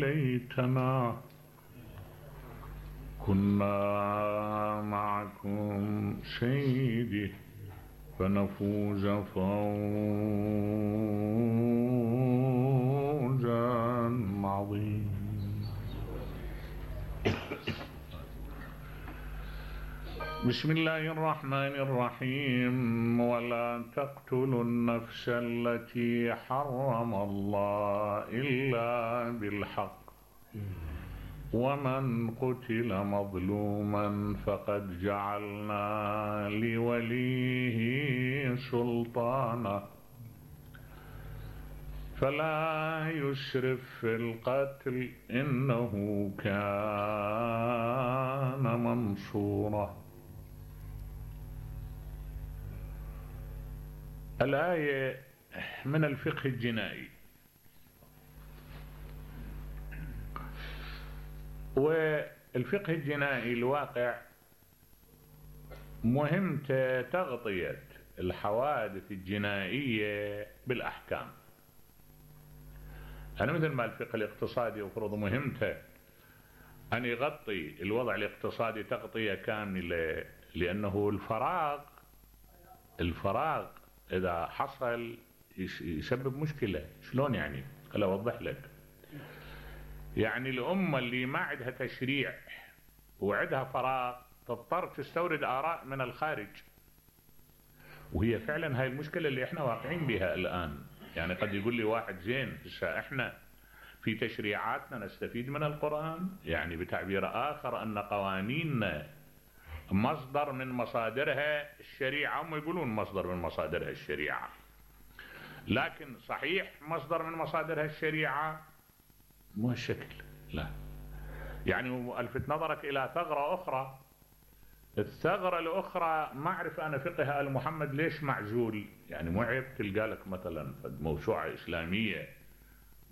ليتنا كنا معكم سيدي فنفوز فوزا عظيما. بسم الله الرحمن الرحيم. ولا تقتلوا النفس التي حرم الله إلا بالحق ومن قتل مظلوما فقد جعلنا لوليه سلطانا فلا يسرف في القتل إنه كان منصورا. الآية من الفقه الجنائي، والفقه الجنائي الواقع مهمته تغطية الحوادث الجنائية بالأحكام. أنا مثل ما الفقه الاقتصادي يفرض مهمته أن يغطي الوضع الاقتصادي تغطية كاملة، لأنه الفراغ إذا حصل يسبب مشكلة. شلون يعني؟ خل أوضح لك. يعني الأمة اللي ما عندها تشريع وعندها فراغ تضطر تستورد آراء من الخارج، وهي فعلا هاي المشكلة اللي احنا واقعين بها الآن. يعني قد يقول لي واحد زين احنا في تشريعاتنا نستفيد من القرآن، يعني بتعبير آخر أن قوانيننا مصدر من مصادرها الشريعة. هم يقولون مصدر من مصادرها الشريعة، لكن صحيح مصدر من مصادرها الشريعة مو هالشكل، لا. يعني ألفت نظرك إلى ثغرة أخرى. الثغرة الأخرى ما أعرف أنا فقه آل محمد ليش معزول. يعني مو عيب تلقى لك مثلا موسوعة إسلامية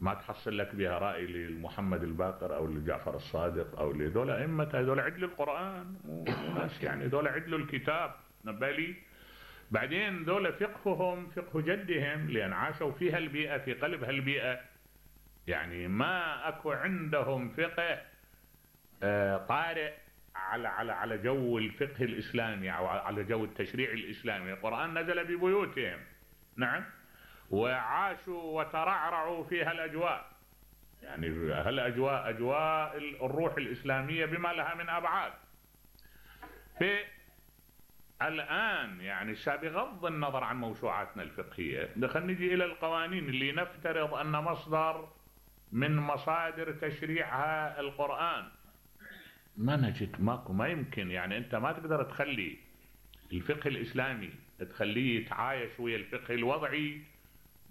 ما تحصل لك بها رأي لمحمد الباقر أو لجعفر الصادق أو لذول أئمة. هذول عدلوا القرآن وناس، يعني ذول عدلوا الكتاب نبالي. بعدين ذول فقههم فقه جدهم، لأن عاشوا في هالبيئة، في قلب هالبيئة. يعني ما أكو عندهم فقه طارئ على جو الفقه الإسلامي أو على جو التشريع الإسلامي. القرآن نزل ببيوتهم، نعم، وعاشوا وترعرعوا في هالأجواء. يعني هالأجواء أجواء الروح الإسلامية بما لها من أبعاد. في الآن يعني بغض النظر عن موسوعاتنا الفقهية، خلينا نجي إلى القوانين اللي نفترض أن مصدر من مصادر تشريعها القرآن. ما نجد، ماكو، ما يمكن. يعني أنت ما تقدر تخلي الفقه الإسلامي تخليه يتعايش ويا الفقه الوضعي،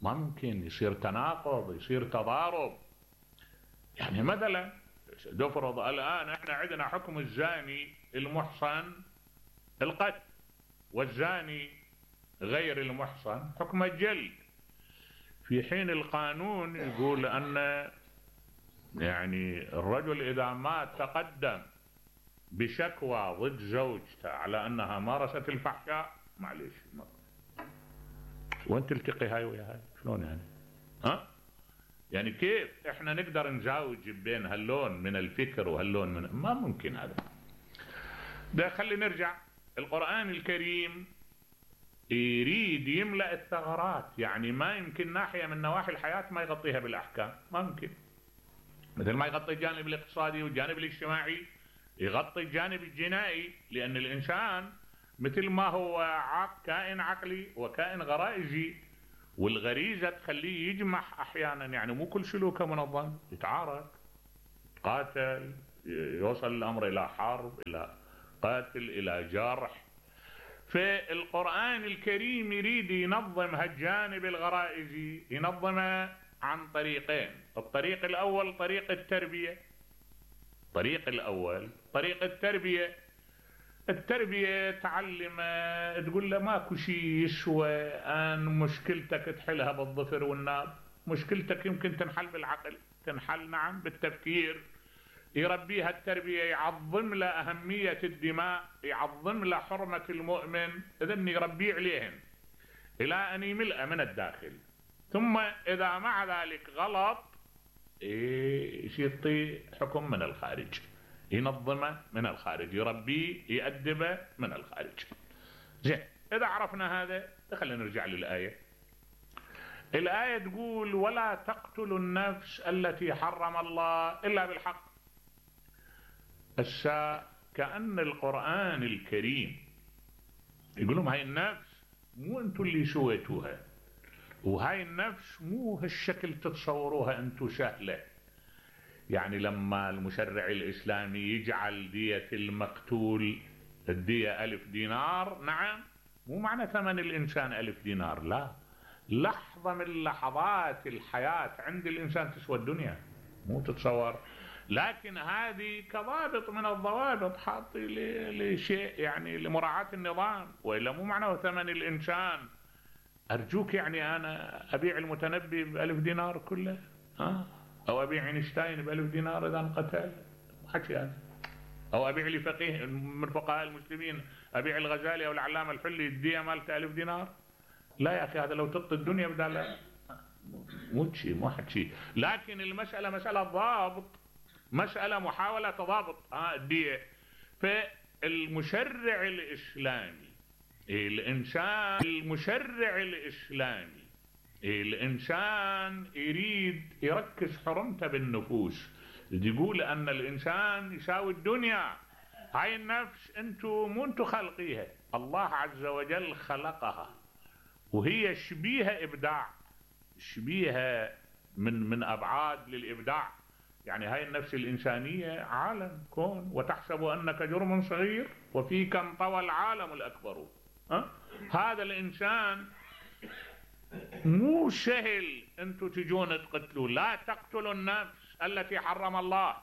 ما ممكن. يصير تناقض، يصير تضارب. يعني مثلا نفرض الآن احنا عندنا حكم الزاني المحصن القتل، والزاني غير المحصن حكم الجلد، في حين القانون يقول أن يعني الرجل إذا مات تقدم بشكوى ضد زوجته على أنها مارست الفحشاء، معليش وين تلتقي هاي ويا هاي؟ شلون يعني؟ ها؟ يعني كيف احنا نقدر نزاوج بين هاللون من الفكر وهاللون من، ما ممكن هذا. ده خلي نرجع. القرآن الكريم يريد يملأ الثغرات، يعني ما يمكن ناحية من نواحي الحياة ما يغطيها بالأحكام، ما ممكن. مثل ما يغطي الجانب الاقتصادي والجانب الاجتماعي يغطي الجانب الجنائي، لأن الإنسان مثل ما هو كائن عقلي وكائن غرائزي، والغريزة تخليه يجمح أحيانا. يعني مو كل سلوكه منظم، يتعارك، يتقاتل، يوصل الأمر إلى حرب، إلى قتل، إلى جرح. فالقرآن الكريم يريد ينظم هالجانب الغرائزي، ينظمه عن طريقين. الطريق الأول طريق التربية. طريق التربية تعلمه، تقول له ماكو شي يسوى أن مشكلتك تحلها بالظفر والناب. مشكلتك يمكن تنحل بالعقل، تنحل نعم بالتفكير. يربيها التربية، يعظم له أهمية الدماء، يعظم له حرمة المؤمن، إذن يربيه عليهن إلى أن يملأ من الداخل. ثم إذا مع ذلك غلط يعطيه حكم من الخارج، ينظمه من الخارج، يربيه يأدبه من الخارج. زين، إذا عرفنا هذا خلينا نرجع للآية. الآية تقول ولا تقتلوا النفس التي حرم الله إلا بالحق. كأن القرآن الكريم يقول لهم هاي النفس مو انتوا اللي سويتوها، وهاي النفس مو هالشكل تتصوروها انتوا سهلة. يعني لما المشرع الإسلامي يجعل دية المقتول الدية 1000 دينار، نعم، مو معنى ثمن الإنسان 1000 دينار، لا، لحظة من لحظات الحياة عند الإنسان تسوى الدنيا، مو تتصور. لكن هذه كضابط من الضوابط حاطي لشيء، يعني لمراعاة النظام، وإلا مو معنى ثمن الإنسان. أرجوك، يعني أنا أبيع المتنبي ب1000 دينار كله، أو أبيع اينشتاين ب1000 دينار إذا انقتل، حكي هذا. أو أبيع لي فقيه من فقهاء المسلمين، أبيع الغزالي أو العلامة الحلي الدية مالته 1000 دينار. لا يا أخي، هذا لو تعطي الدنيا بدال، مو حكي. لكن المسألة مسألة ضابط، مسألة محاولة تضابط الدية. فالمشرع الإسلامي الإنسان يريد يركز حرمته بالنفوس، يقول أن الإنسان يساوي الدنيا. هاي النفس مو انتو خلقيها، الله عز وجل خلقها، وهي شبيهة إبداع، شبيهة من أبعاد للإبداع. يعني هاي النفس الإنسانية عالم كون، وتحسب أنك جرم صغير وفيك انطوى العالم الأكبر. هذا الإنسان مو سهل انتوا تجون تقتلوا. لا تقتلوا النفس التي حرم الله،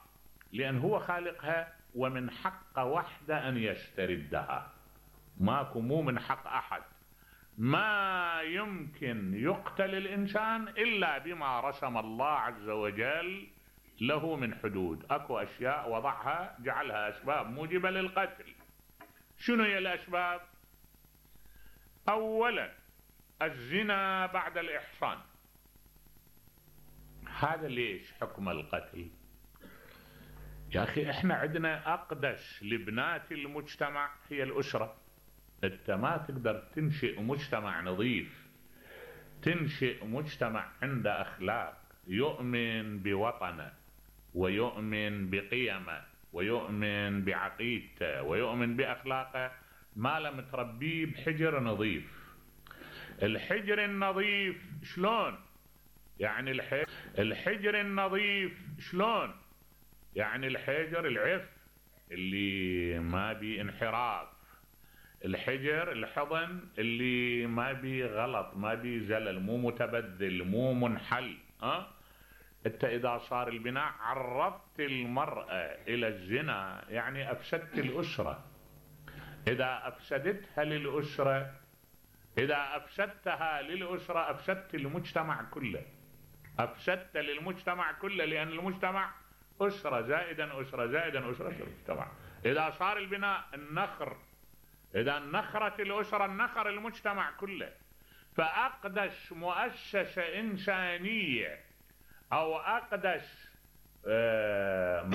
لأن هو خالقها، ومن حق وحده أن يستردها، مو من حق أحد. ما يمكن يقتل الإنسان إلا بما رسم الله عز وجل له من حدود. أكو أشياء وضعها، جعلها أسباب موجبة للقتل. شنو هي الأسباب؟ أولا الزنا بعد الإحصان. هذا ليش حكم القتل؟ يا أخي احنا عندنا أقدس لبنات المجتمع هي الأسرة. انت ما تقدر تنشئ مجتمع نظيف، تنشئ مجتمع عنده أخلاق، يؤمن بوطنه ويؤمن بقيمه ويؤمن بعقيدته ويؤمن بأخلاقه، ما لم تربيه بحجر نظيف. الحجر النظيف شلون؟ يعني الحجر النظيف شلون؟ يعني الحجر العف اللي ما بي انحراف، الحجر الحضن اللي ما بي غلط، ما بي زلل، مو متبذل، مو منحل. انت اذا صار البناء عرضت المرأة الى الزنا، يعني افسدت الاسرة. اذا افسدتها للاسرة، اذا افسدتها للاسرة افسدت المجتمع كله، افسدت للمجتمع كله، لان المجتمع اسرة زائدا اسرة زائدا اسرة المجتمع. اذا صار البناء النخر، اذا نخرت الاسرة النخر المجتمع كله. فاقدس مؤسسة انسانية او اقدس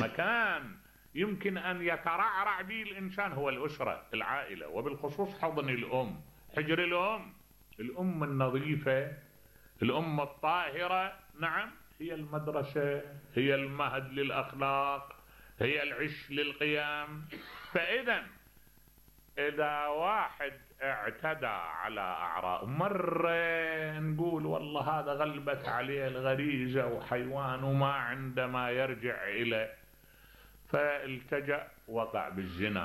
مكان يمكن ان يترعرع به الانسان هو الاسرة، العائلة، وبالخصوص حضن الام، حجر الام النظيفة، الام الطاهرة. نعم، هي المدرسة، هي المهد للاخلاق، هي العش للقيام. فاذا اذا واحد اعتدى على اعراض، مرة نقول والله هذا غلبت عليه الغريزة وحيوان وما عنده ما يرجع اليه، فالتجأ وقع بالزنا.